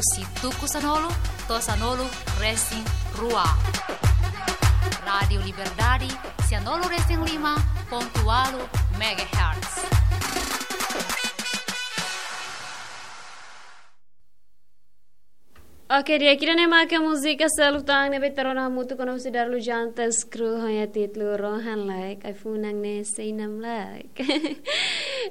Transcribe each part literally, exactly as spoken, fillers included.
Husi tuku sanulu to'o sanulu resin rua. Rádiu Liberdade, sanulu resin lima pontu ualu megahertz. Oke, di'ak, ida-ne'e maka múzika seluk tan ne'ebé ita rona hamutuk ona husi Darlu Jantas Crew ho nia títulu Rohan Laek, ai-funan ne'e sei namlaek.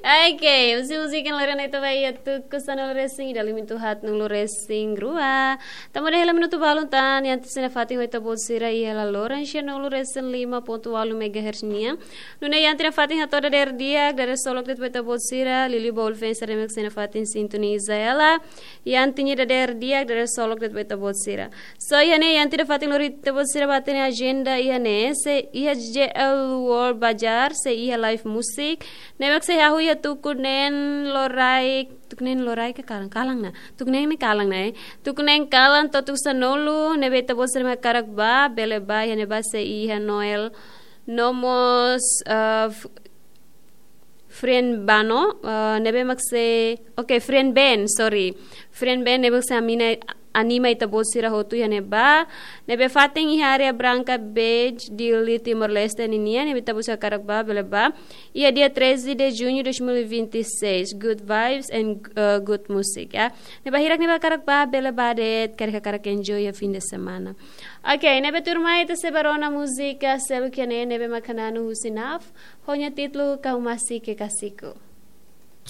Oke, husi múzika ne'e loron ita ba iha tuku sanulu resin ida, limitu haatnulu resin rua. Tama de'it hela minutu balun tan, iha ita-nia fatin ho ita-boot sira iha laloran sanulu resin lima pontu ualu megahertz nian. Nune'e iha ita-nia fatin hato'o dadeer di'ak, dadeer solok de'it ba ita-boot sira, liuliu ba ulfensa ne'ebé mak iha ita-nia fatin sintoniza hela. Iha ita-nia dadeer di'ak, dadeer solok de'it ba ita-boot sira. So, iha ne'e iha ita-nia fatin lori ita-boot sira ba ita-nia ajenda iha ne'e, sei iha J L World Bazar, sei iha live music. Ne'ebé mak sei hahú iha tuku neen loraik, tuku neen loraik ka kalan, kalan ona. Tuku neen ne'e kalan ona, eh. Tuku neen kalan to'o tuku sanulu, ne'ebé ita-boot sira mak hakarak ba, bele ba, iha ne'ebá sei iha Noel. No mós, eh, f-, Friend Bano, eh, ne'ebé mak sei, oke, Friend Ben, sorry. Friend Ben ne'ebé mak sei anima, anima ita-boot sira hotu iha ne'ebá. Ne'ebé fatin iha área branka beige, Dili, Timor-Leste ninian, ne'ebé ita-boot sira hakarak ba, bele ba. Iha dia treze de junho de dois mil e vinte e seis. Good vibes and, eh, good music, ya. Ne'ebé hirak ne'ebé hakarak ba, bele ba de'it, karik hakarak enjoy iha fim de semana. Oke, ne'ebé tuirmai ita sei ba rona múzika seluk iha ne'e, ne'ebé mak hananu husi Naf, ho nia títulu Kau Masih Kekasihku.